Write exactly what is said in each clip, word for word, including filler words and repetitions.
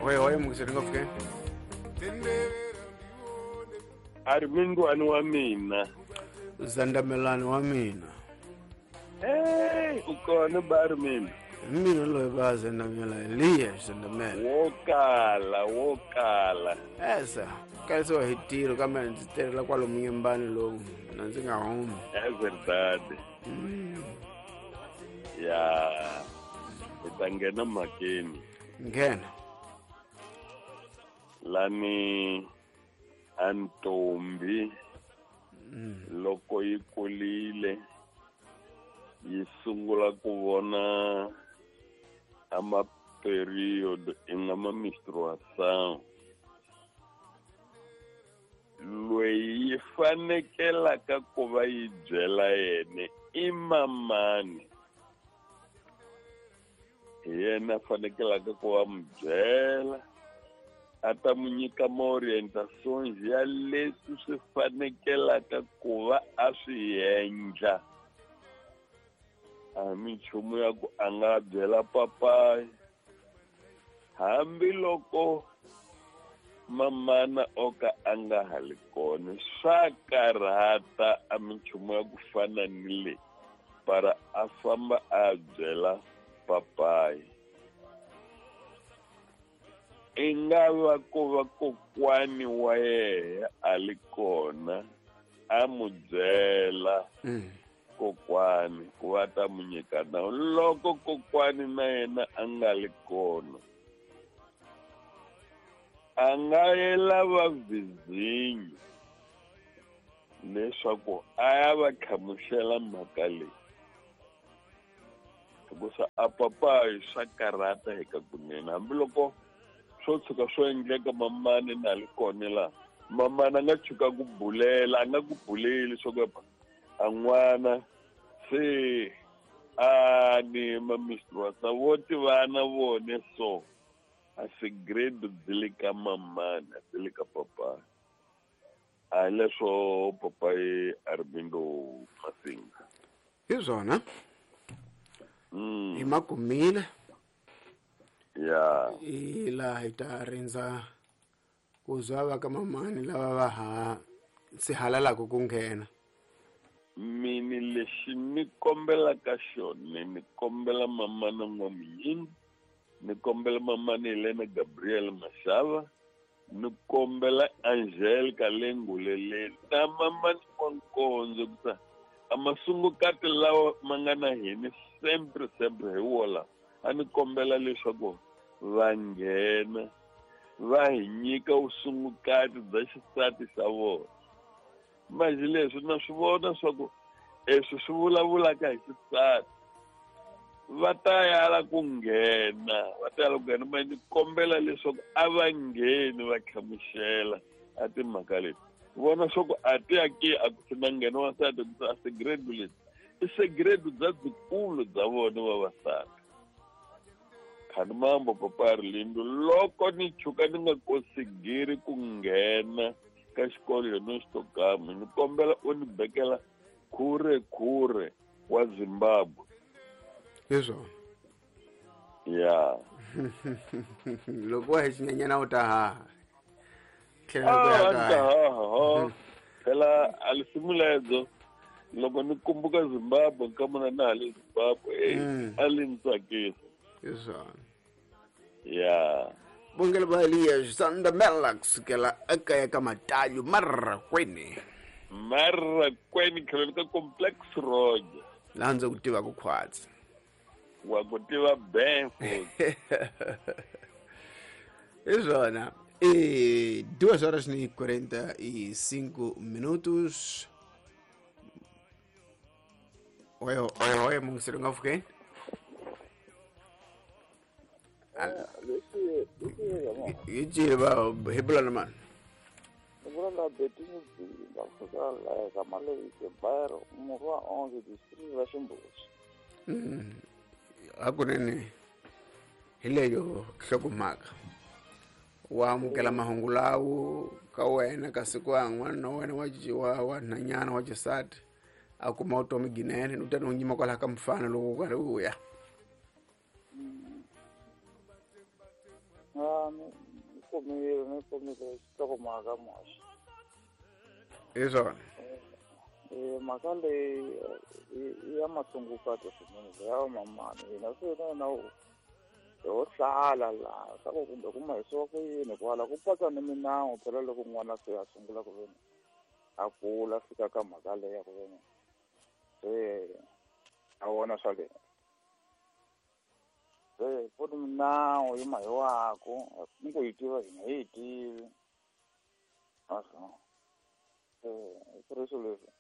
Oi oi mungiseri ngopfu ke. Armingwani wa mina. Zandamelani wa mina. Eh, u kona ba Armin. Mina loyi ba Zandamela Elias Zandamela. Wo kala, wo kala. Esa, kalisiwa hi tiro kambe ndzi tirhela kwalomu nyembani lowu na ndzi nga humi. É verdade. Mm. Ya, hi ta nghena mhakeni. Nghena. Lani a ntombi mm. loko yi kurile yi sungula ku vona a ma period i nga ma menstruation loyi yi fanekelaka ku va yi byela yena i mamani hi yena a fanekelaka ku va mu byela a ta mu nyika ma-orientations ya leswi swi fanekelaka ku va a swi endla. A minchumu ya ku a nga byela papayi hambiloko mamana o ka a nga ha li kona swa karhata a minchumu ya ku fana ni leyi para a famba a byela papayi. I nga va ku va kokwani wa yena a li kona a mu byela mm. kokwani ku va ta mu nyika nawu loko kokwani na yena a nga li kona a nga yela va vizinyo leswaku a ya va hlamusela mhaka leyi hikusa a papayi swa karhata eka kunene hambiloko swo tshuka swo endleka mamani na li kona laha mamani a nga tshuka ku bulela a nga ku buleli swa ku a n'wana se a ni ma menstruation vo tivana vone so a segredo byi le ka mamani a byi le ka papayi a hi leswo papayi Armindo Masinga hi swona mm. hi makumile ya i laha hi ta rindza ku zwa va ka mamani lava va ha sihalalaka ku nghena. Mini lexi ni kombelaka xona ni kombela mamana N'wamunyingi ni kombela mamana Helena Gabriel Mashava ni kombela Angelica Lenguleleni na mamani N'wankondzo kusa a masungukati lawa ma nga na hina sempre sempre hi wola a ni kombela leswaku va nghena va hi nyika vusungukati bya xisati xa vona. Manje leswi na swi vona swa ku leswi swi vulavulaka hi xisati va ta yala ku nghena va ta yala ku nghena manje ni kombela leswaku a va ngheni va hlamusela a timhaka leti vona swa ku a ti ya ke a ku na nghena wansati ku a segredo leti i segredo bya byikulu bya vona vavasati. Khani mambo papa Arlindo loko ni chuka ni nga kosigiri ku nghena ka xikolo yona xitokama ni kombela u ni bekela khure khure wa Zimbabwe. Hi swona ya loko wa hi xinyenyana u ta haha tlhela ku ya a ni ta kaya. haha phela a lisimu ledzo loko ni kumbuka Zimbabwe nkamona na ha le Zimbabwe eh Mm. a li ni tsakisa. Hi swona ya Bongela ba Elias Zandamela kusukela ekaya ka Matalyu Marrakwene Marrakwene tlhelo ka Complex Road laha ndzi ku tivaka khwatsi wa ku tiva ben futhi. Hi swona e duas horas e quarenta e cinco minutos. Oi oi oi mungiseri ngopfu ke. Hi cile va hi bula na mani Ni vula la Betini Bzinga kusuka laha ka Malevisi Bairo murhi wa onze district ra Ximbuzi. Hakunene hi leyo nhlokomhaka wa amukela mahungu lawo ka wena kasi ku yan'wana na wena wa wa wa nhwanyana wa xisati a kuma vutomi ginene u ta ni nyima kwalaho ka mfana loko u karhi u ya. Ah, ni kumile ni kumile xihlokomhaka muhaxi. Hi swona. Eh, mhaka leyi i ya masungukati swinene ya mamani hina se na na ho hlala laha swa ku kumbe ku mahisiwa ku yini kwala ku patsa ni minawu phela loko n'wana se a sungula ku veni a kula fika ka mhaka leyi ya ku veni se a vona swa le se ku ni minawu yi mahiwaku ni ku yi tiva hina hi yi tivi naswona se ku ri swilo leswi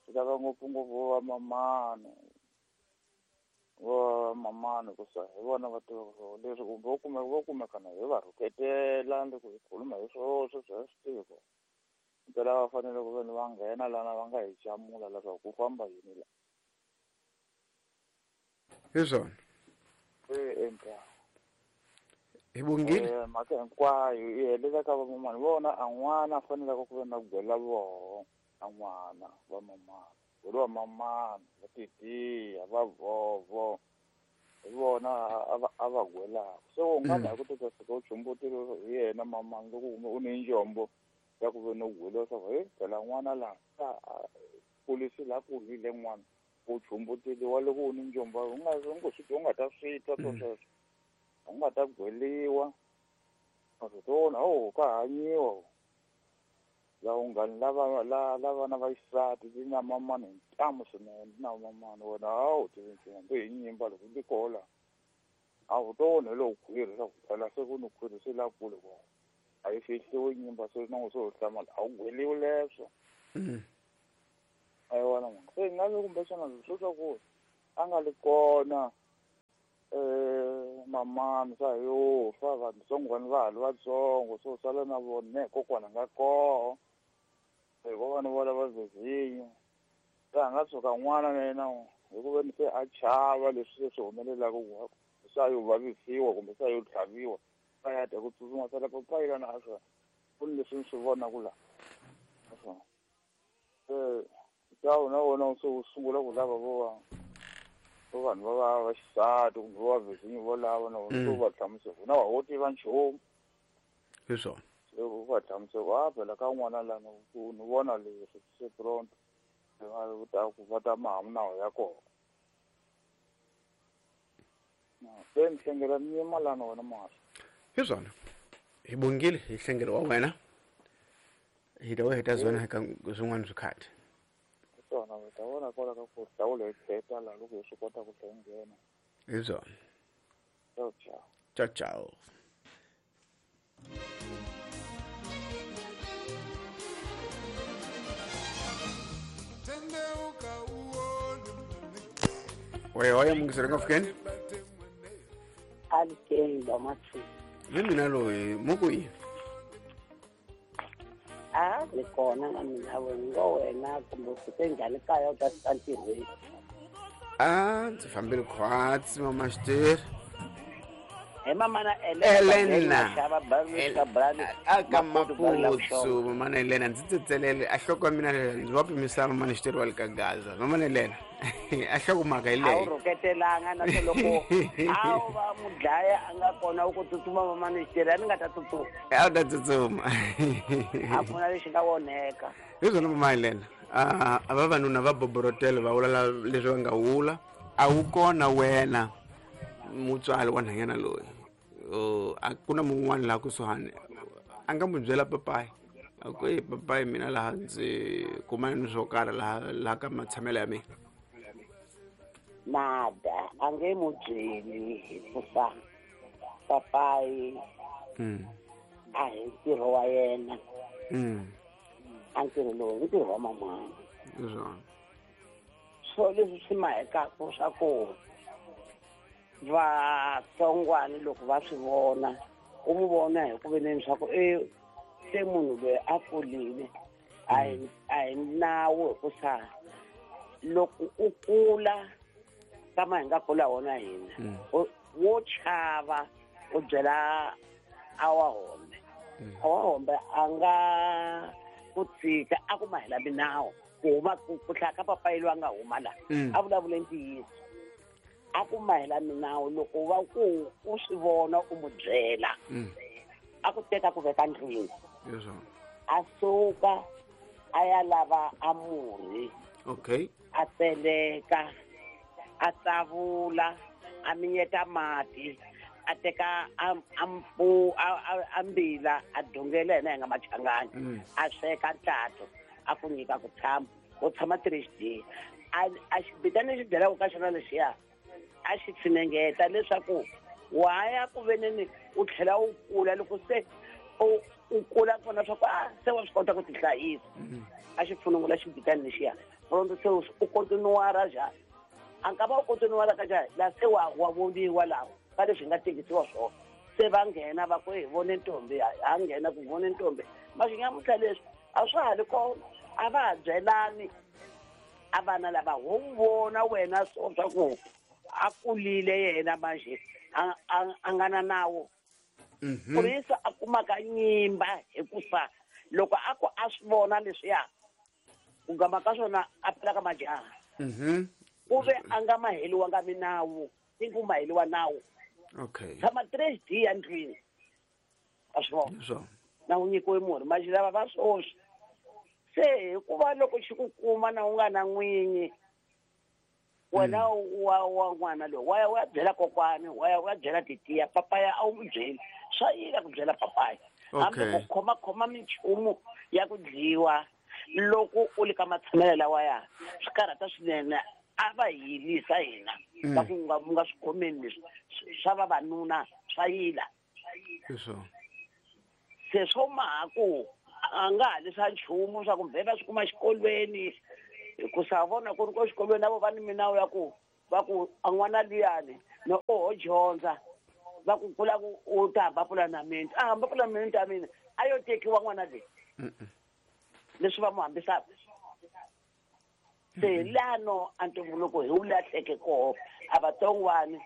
swi lava ngopfungopfu va mamani va mamani ku sa hi vona va tivaka leswi kumbe vo kumeka vo kumekana hi va rhuketela loko hi khuluma hi swoho sweswi a swi tivi ku mpela va fanele ku veni va nghena lana va nga hi jamula leswaku ku famba yini la. Hi swona. E endla hi bongile mhaka hinkwayo yi helela ka vamamani vona a n'wana a faneleke ku ve na gwela voho a n'wana va mamani gwela va mamani va titiya va vovo hi vona a va gwelaka se u nga na ku teka fika u chumbutile hi yena mamani loko u ni njombo ya ku ve no gweliwa swa ku he phela n'wana laha a kulisi laha kulile n'wana u chumbuteliwa loko u ni njombo u nga u ngo swi u nga ta swi twa swo sweswo u nga ta gweliwa a o ka hanyiwa la unghani lava la la vana va xisati ti na mamani hi ntamu swinene ti na mamani wena a wu tivi nchumu hambi hi nyimba loko ti kola a wu to onhe lowu khwiri swa ku phela se ku ni khwiri se la kule kwa a yi fihliwi nyimba se na se u hlamala a wu gweliwi leswo a yi wona mhaka se nga vi kumbexana swo swa ku a nga li kona eh mamani swa yo fa vantsongwana va ha ri vatsongo so sala na vona kokwana nga koho hi vana vo lava zezinyo se a nga tshuka n'wana na yena hi ku veni se a chava leswi se swi humelelaka ku se a yo vavisiwa kumbe se a yo tlhaviwa a ya ta ku tsutsuma sala papayilana a swa ku ni leswi ni swi vonaka laha naswona se ntawu na wona se wu sungula ku lava vo va vanhu va va va xisati kumbe va vhizinyo vo lava na vona se u va hlamusela na wa wo tiva nchumu hi swona se u va hlamusela a phela ka n'wana lana ku ni vona leswi se pronto va ta ku va ta maha minawu ya kona se ni hlengela ni yima lana wena mahlo. Hi swona hi bongile hi hlengelo wa wena hi ta hi ta zona ka swin'wana swikhathi swona u ta vona kwala ka ku hlawula hi kheta laha loko hi swi kota ku hlengena hi swona. Ciao ciao. Ciao ciao. Oya oya mungisere nga fikeni alikeni ba mathu hi mina loyi muku yi a ni kona na mina ngo wena kumbe u fike njhani kaya u ta fika ntirhweni? A ndzi fambile khwatsi mama xiteri hi mamana Elena aka Maputsu mamana Elena ndzi tsetselele a hloko ya mina ndzi wa pimisa mamana xiteri wa le ka Gaza mamana Elena a hloko mhaka hi a wu leyi rhuketelanga na swo loko a wu va mudlaya a nga kona u ku tsutsuma mamana xiteri a ni nga ta tsutsuma a wu ta tsutsuma a ku na lexi nga onheka hi swona mama Elena a a vavanuna va boborotela va vula leswi va nga vula a wu kona wena mutswari wa nhwanyana loyi a ku na mun'wana laha kusuhani a nga n'wi byela papayi a ku e papayi mina laha ndzi kumana ni swo karhi laha laha ka matshamelo ya mina nada a nge mu byeli hikuva papayi a hi ntirho wa yena a ntirho lowu i ntirho wa mamani hi swona so leswi swi mahekaku swa ku vatsongwani loko va swi vona u mu vona hi ku veneni swa ku e se munhu loyi a kurile a hi a hi nawu hikusa loko u kula kama hi nga kula wona hina wo chava u byela a wa hombe a wa hombe a nga ku tshika a ku mahela minawu ku huma ku hlaya ka papayi loyi a nga huma laha a vulavule ntiyiso A ku mahela minawu loko va ku u swi vona u mu byela. A ku teka ku veka ndlwini. A suka a ya lava a murhi. Okay. A tseleka, a tsavula, a minyeta mati, a teka a ampu a mbila a dongela yena hi nga machangani. A sweka ntathu a ku nyika ku tshama, u tshama three days. A a xibitana lexi byelaka ka xona lexiya a xi tshinengeta leswaku wa ya ku veneni u tlhela u kula loko se u u kula kona swa ku a se wa swi kota ku tihlayisa. A xi pfunungula xibitana lexiya pronto se u kontinuara njhani a nga va u kontinuara ka njhani la se wa wa voniwa laha ka leswi nga tekisiwa swona se va nghena va ku hi vone ntombi ha nghena ku vone ntombi maswinyamuntlha leswi a swa ha ri kona a va ha byelani a vana lava ho vona wena so swa ku a kulile yena manje a a nga na nawu kurisa a kumaka nyimba hikusa loko a ku a swi vona leswiya ku gama ka swona a phela ka majaha ku ve a nga maheliwanga minawu i ku maheliwa nawu. Okay. Tshama three D ya ndlwini a swi vona na wu nyikiwe murhi manje lava va swoswi se hikuva loko xi ku kuma na u nga na n'winyi wena wa wa n'wana loyi wa ya wa byela kokwani wa ya wa byela titiya papaya a wu n'wi byeli swa yila ku byela papaya hambi ku khoma khoma minchumu ya ku dyiwa loko u le ka matshamelo lawa ya swi karhata swinene a va yilisa hina va ku nga nga swi khomeni leswi swa vavanuna swa yila se swo maha ku a nga ha leswa nchumu swa kumbe va swi kuma xikolweni hikusa vona ku ri ko xikolweni na vo va ni minawu ya ku va ku a n'wana luyani no oho dyondza va ku kula ku u ta hamba pulamende a hamba pulamende ya mina a yo tekiwa n'wana leyi leswi va mu hambisaka se lano a ntumbuluko hi wu lahleke koho a vatsongwani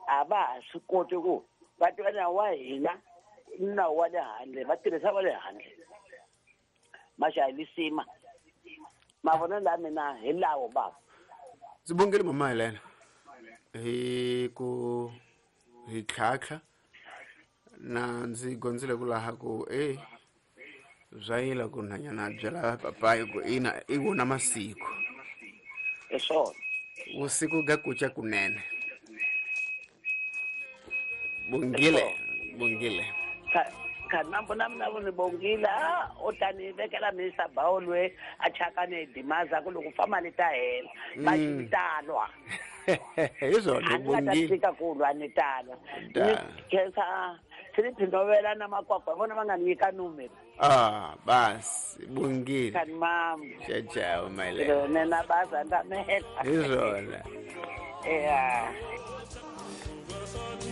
a va ha swi koti ku va tiva nawu wa hina nawu wa le handle va tirhisa wa le handle maxa hi lisima mavonelo la mina hi lawo baba. Ndzi bongele mama Helena hi ku hi tlhatlha na ndzi gondzile ku laha ku e bya yila ku nhanyana byela papayi ku ina i wona masiku hi swona vusiku ga kuca kunene. Bongile bongile kanambo na mina ni bongile u ta ni vekela Mister Bawolwe a chaka ni dimaza ku loko fa mali ta hela va xi talwa hi swona bongile fika ku lwa ni talwa ni khensa Philip Novela na Makwakwa vona va nga nyika numero. Ah bas bongile kan mam ciao ciao my love nena baza ndamela hi swona yeah.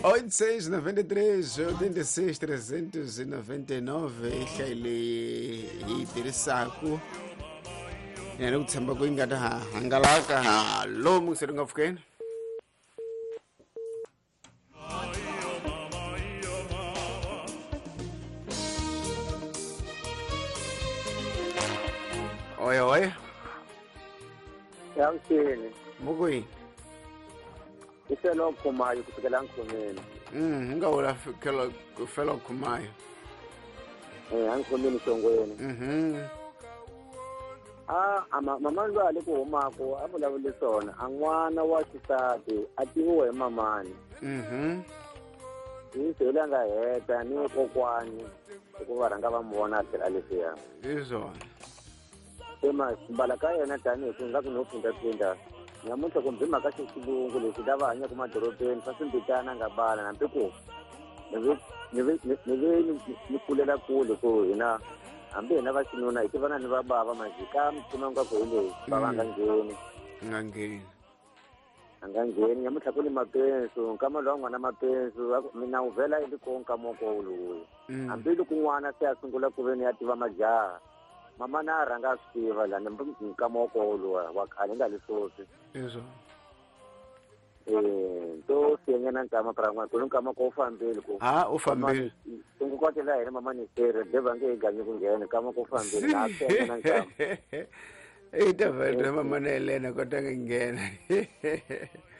oito seis noventa e três, oitenta e seis, trezentos e noventa e nove i hlayi leyi hi yi tirhisaku ni ku tshemba ku yi nga ta ha hangalaka hallo mungiseri nga pfukeni. Oi oi Yansini mukuyini Ifelo Khumayo kusukela ngikhomeni. Mm, nga wula felo felo Khumayo. Eh, angikhomeni Songweni. Mhm. Ah, ama mama lo ale ku humako a vulavule swona, a n'wana wa xisati a tiviwa hi mamani. Mhm. Hi se la nga heta ni kokwani hikuva rhanga va mu vona a tlhela leswiya. Hi swona. Se ma mbala ka yena tanihi ku nga ku no phindaphinda. Nyamuntlha kumbe mhaka xilungu leswi lava hanyaka madorobeni swa swimbitana nga bala hambi ku ni ve ni ve ni ve ni kulela kule ku hina hambi hina va xinuna hi tivana ni va bava majika mipfuna nga ku hi leyi va va nga ngheni nga ngheni a nga ngheni nyamuntlha ku ni mapensu nkama lowa n'wana mapensu mina wu vhela i ri ko nkama ko lowu hambi loko n'wana se a sungula ku ve ni ya tiva majaha mama na rhanga a swi tiva lani nkama wa koho luwa wa khale nga leswosi Izwo. Eh, to siyanyana nkama pra n'wana ku nkama ko fambile ku ha u fambile tungu kwatela hina mama ni sere de va nge ganyi ku nghena nkama ko fambile na siyanyana nkama e ta va mama na Helena kota nga nghena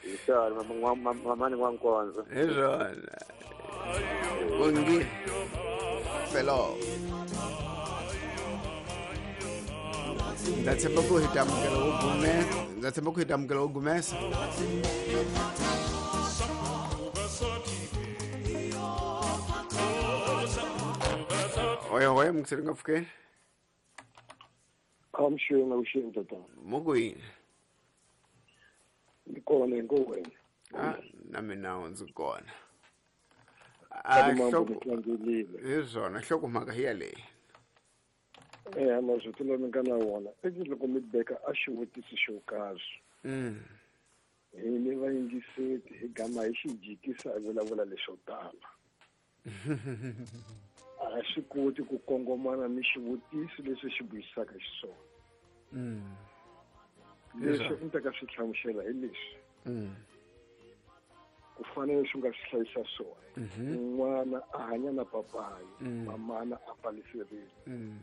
Hi swona mamani n'wankonzo. Hi swona. Bongile. Felo. Ndza tshemba ku hi ta amukela wo gumesa. Ndza tshemba ku hi ta amukela wo gumesa. Oya oya mukiseri nga pfukeni. Amshweni awusheni tatana. Mukuyini? Ni kona inkoweni. Ah, na mina ndzi kona. Ah, hi swona nhlokomhaka hi yaleyi. Eh, mazwi lama nga na wona i loko mi beka a xivutiso xo karhi. Mm. Hi ni vayingiseti hi gama hi xi jikisa hi vulavula leswo tala. A swi koti ku kongomana ni xivutiso leswi xi buyisaka xiswona. Mm. Leswi ni ta ka swi hlamusela hi leswi. Mm. Ku fanele swi nga swi hlayisa swona. N'wana a hanya na papayi, mamana a pfalisiwile. Mm.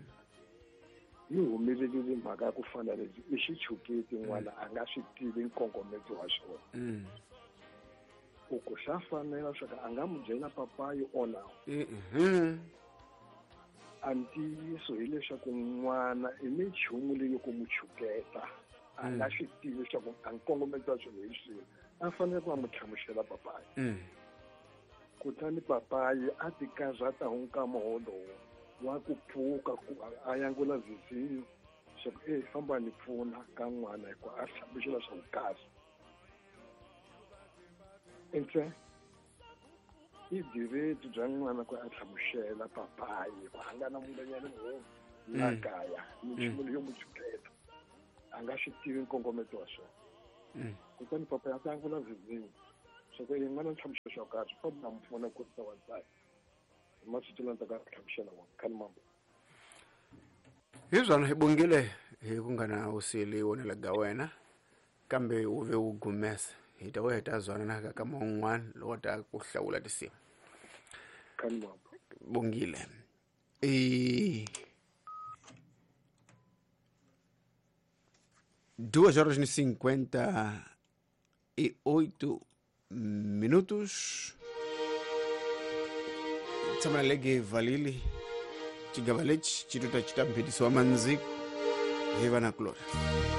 Yi humelerile mhaka ya ku fana leswi i xichuketi n'wana a nga swi tivi nkongometo wa xona. Mm. U ku swa fanela swa ku a nga n'wi byela papayi ona. Mhm. A ntiyiso hileswaku n'wana i minchumu leyi ku n'wi chuketa a nga swi tivi leswaku a nkongometo wa swilo hi swihi a fanele ku a n'wi hlamusela papayi. Mm. Kutani papayi a ti karhata hi nkama wolowo wa ku pfuka ku a yangula vizinyo swa ku e famba ni pfuna ka n'wana hikuva a hlamusela swa ku kahle. Ntse i direti bya n'wana ku a hlamusela papayi ku a nga na munghanyana munhu la kaya minchumu leyo n'wi chuketa a nga swi tivi nkongometo wa swona. Kutani papayi a ta yangula vizinyo swa ku e n'wana hlamusela swa kahle famba na pfuna ku kurisa wansati. Masiku lama taka hlamusela wona khani mambo. Hi swona hi bongile hi ku nga na usili wonela ga wena kambe wu ve wu gumesa hi ta we ta zwana na ka man'wana lowu ta ku hlawula tinsimu. Khani mambo. Bongile. E duas horas e cinquenta e oito minutos. Tshama lege valili chigava lexi xi tuta xi ta mphikisiwa mandziko hi va na kulorhi.